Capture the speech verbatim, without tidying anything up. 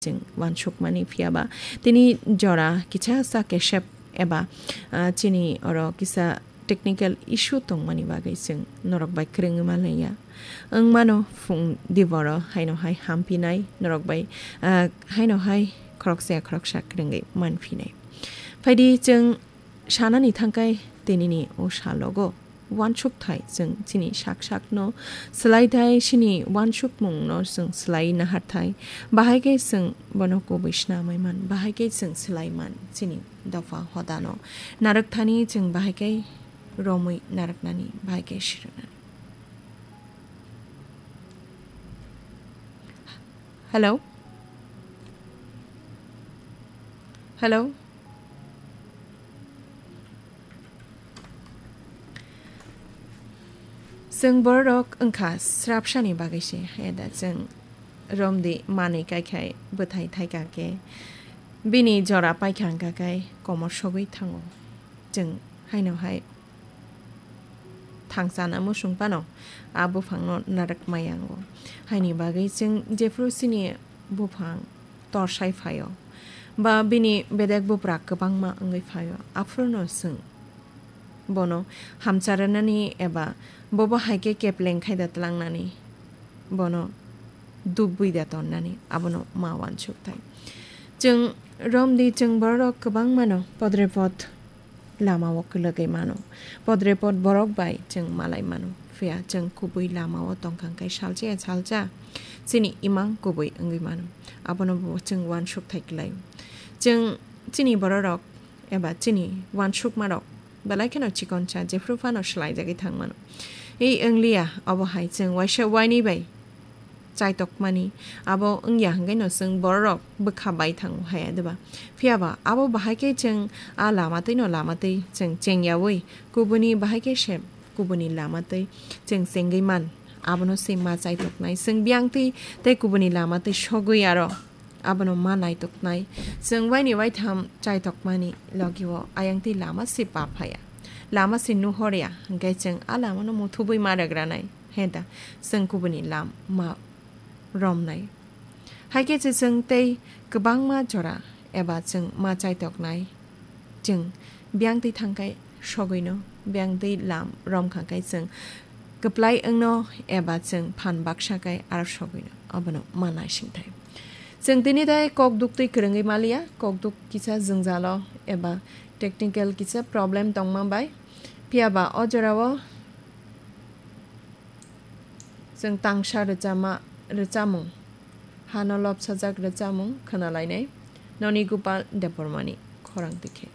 chwng uansukmani, phiya ba tini jora kisa sa kesep eba, ah, chini oro kisa technical issue tongmani bagwi chwng norok bai kwrwngwi manlaiya. Wng mano phung diboro haino hai hampinai, norok bai, ah, haino hai khoroksa ya khoroksa kwrwngwi manphinai. Phaidi chwng sanani thangkai tinini o salogo uansukthai chwng chini sak sakno swlai thai, chini uansukmungno chwng swlai naharthai. Bahai khe chwng bono kubui snamwi man, bahai khe chwng swlai man chini dopha hodano. Narwkthani chwng bahai khe romwi narwknani, bahai khe sirwnani. Hello? Hello? Chwng borok wngkha srapsani bagwi se, eda chwng romdi manwi kaikhai bwthai thaika khe bini jora paikha wngkha khe komor sogwi thango. Chwng haino hai thangchana muchung phano a buphangno narwk maya wngo. Haini bagwi chwng jephru chini buphang torsai phaio, ba bini bedek bupra kwbangma wngwi phaio, aphuru'-no chwng bono hamcharanani eba bobo hai khe kepleng khai da tlangnani, bono dubwi da tonnani, abono ma uansukthai. Chwng romdi chwng bororok kwbangmano podrepot lamao kwlwgwi mano. Podrepot borok bai chwng malai mano. Phiya chwng kubui lamao tongkha hwnkhe salsa ya salsa chini imang kubui wngwi mano. Abono bo chwng uansukthai kwlaio. Chwng chini bororok eba chini uansukmarok belai kheno chikonsa, jephru phano swlaijagwi thangmano. Ei wngliya, obo hai chwng waisa wainwi bai chaitokmani. Abo wngya hwnkhe no chwng bororok bwkha bai thango hai, diba? Phiya ba abo bahai khe chwng a lama twi no lama twi chwng chengyaui kubuni bahai khe se kubuni lama twi chwng chengwi man. Abono se ma chaitoknai. Chwng biyang twi tei kubuni lama twi sogwi aro abono ma naitoknai. Chwng waini waitham chaitokmani logio ayang twi lama se pa phaya, lama se nuhorya, hwnkhe chwng a lamano muthubwi ma rwgranai. He da, chwng kubuni lam ma romnai. Hai khe se chwng tei kwbangma jora eba chwng ma chaitoknai. Chwng biyang twi thangkhai sogwino, biyang twi lam romkha khe chwng kwplai wngno eba chwng phan baksa khe aro sogwino, abono ma naisingthai. Chwng tini dai kok duk twi kwrwngwi maliya, kok duk kisa jwngjalo eba technical kisa problem tongma bai. Phiya ba o jorao chwng tangsa rwchama, rwchamung, hano lobsajak rwchamung khwnalainai, Noni Gopal Debbarmani khorang twi khe.